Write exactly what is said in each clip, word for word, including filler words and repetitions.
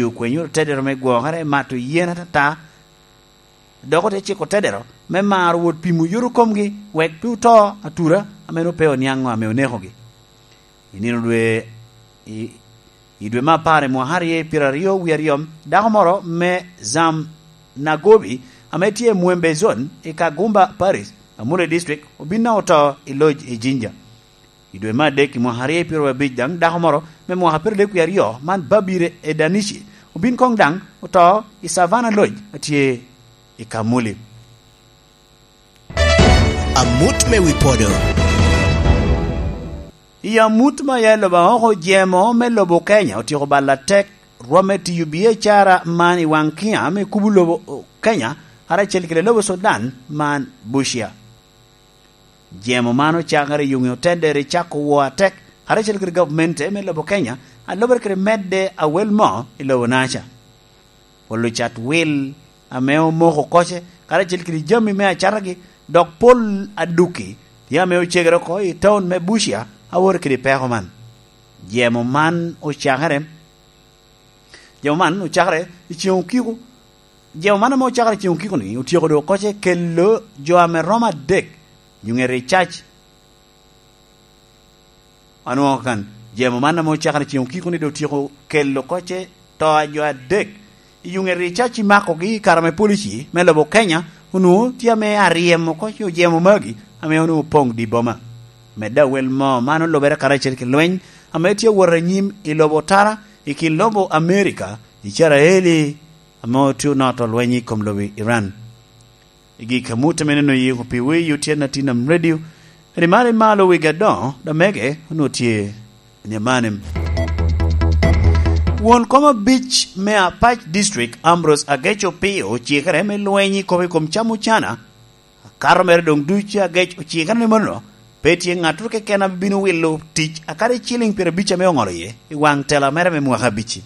okwenyo otedero me gwokere, mato yen atata, dok ote ciko otedero me maro wot pimo yot komgi, wek pe oto atura ame nwoŋo pe oniaŋo ame onekogi. I nino dwe, i, i dwe me apar i mwaka aryo i pyeraryo wie aryo, dako moro me Zam Nagobi, ame tye i Mwembe Zone i Kagumba Parish, Amule District, obin a oto i loc i Jinja. I dwe me adek i mwaka aryo i pyeraryo abic daŋ, dako moro me mwaka pyeradek wie aryo man Babire Edanici obin koŋ daŋ oto i Savana Lodge a tye i Kamuli. Amut me wi podo. I amut ma ya i lobo Aoko, jemo me lobo Kenya otyeko balo atek rwom me tiyo biacara man i waŋ kiŋ me kubo lobo Kenya, karacel kede lobo Sudan man Busia. Jemo man ocakere i yuŋe otedere i cako wo atek, karacel kede gavmente me lobo Kenya, a lubere kede medde awel mo i lobo Naca. Pol ocat wil ame omoko koce, karacel kede jami me acatagi, dok pol aduki tye ame ocegere oko i taun me Busia, a woro kede peko man. Jemo man ocakere, jemo man ocakere i ceŋ okiko, jemo man ame ocakere i ceŋ okiko-ni otyeko doŋ koce kelo jo ame romo adek i ŋet i cac. Anwoŋo kan, jemo man ame ocakere i ceŋ okiko-ni doŋ otyeko kelo koce to a jo adek i yuŋet i cac i makogi i kare ame polici me lobo Kenya onwoŋo tye ame aryemo oko i ojemo magi ame onwoŋo opoŋ di boma. Medde awel mo, man olubere karacel ki lweny ame tye awot anyim i lobo Otara i kin lobo Amerika, Icrael, ame otye onoto lweny i kom lobo Iran. I gik amut ame neno yiko pi wi otyen atin am radio, rimari malo wigi adoŋo, damege onwoŋo tye ni amanim. Won kom abic me Apac District, Ambrose Agec Opio, ocikere me lweny i kop i kom cam ocana. Akato mere doŋ ducu Agec ocikere ni mono, pe tye ŋattoro keken a bino wilo tic akadi ciliŋ pyerabic ame oŋolo iye i waŋ tela mere me mwaka abic-ci.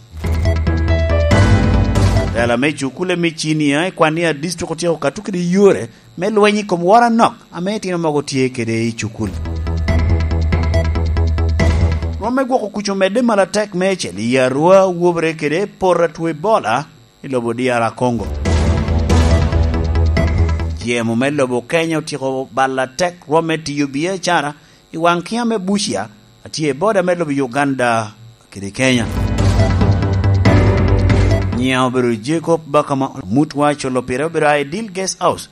Tela me cukule me cinia i kwan ni a district otyeko kato kede yore me lweny i kom woro anok ame itino mogo tye kede i cukul. Rwom me gwoko kuc omedde malo atek meicel i Arua, wobere kede poto atwo Ebola i lobo D R Congo. Jemo me lobo Kenya otyeko balo atek rwom me tiyo biacara i waŋ kiŋ ame Busia a tye i boda me lobo Uganda kede Kenya. Nyiŋa obedo Jacob Bakama, mutwa acolo pire obedo a i Dil Guest House,